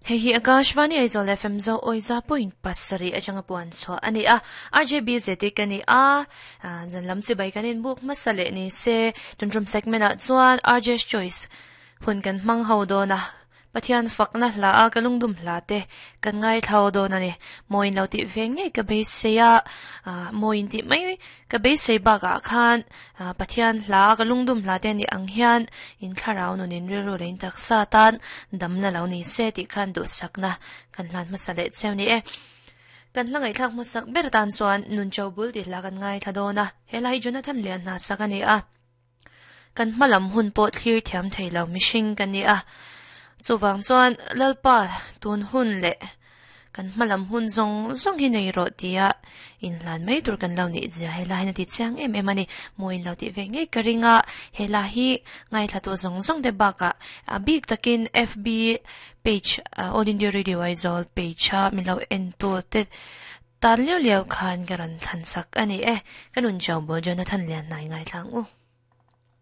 Hei hi Akashvani Aizawl FM Zo Awiza point pasarih atanga puan chhuah a ni a. RJB Zeti ka ni a, zan lam chibai kan inbuk hmasa leh ni se. Tuntum segment ah chuan RJ's Choice hun kan hmang ho dawn a. Pathian fakna hla a ka lungdum hla te kan ngaithla dawn a ni. Mawiin lo tih ve ngei ka beisei a, mawiin tih mai ka beisei bakah khan Pathian hla a ka lungdum hla te anih ang hian in thlarau nunin rilru leh in taksa tan damna lo ni se tih khan duhsakna kan hlan hmasa leh cheu ni e. Kan hla ngaihthlak hmasak ber tan chuan Nun Cho Bul tih hla kan ngaithla dawn a, he hla hi Jonathan Lianhna sak a ni a. Kan hma lam hun pawh thlir thiam thei lo mihring ka ni a, chuvang chuan Lalpa tun hun leh kan hma lam hun zawng zawng hi nei rawh tia inhlan mai tur kan lo nih zia he la hian a ti chiang em em a ni. Mawiin lo tih ve ngei ka ring a, he la hi ngaithlatu zawng zawng te bakah a bik takin FB page All India Radio Aizawl page a min lo entu te tan liau liau khan ka rawn thlan sak a ni e. Ka nun Jobo Jonathan Lianhnai ngaithla ang u.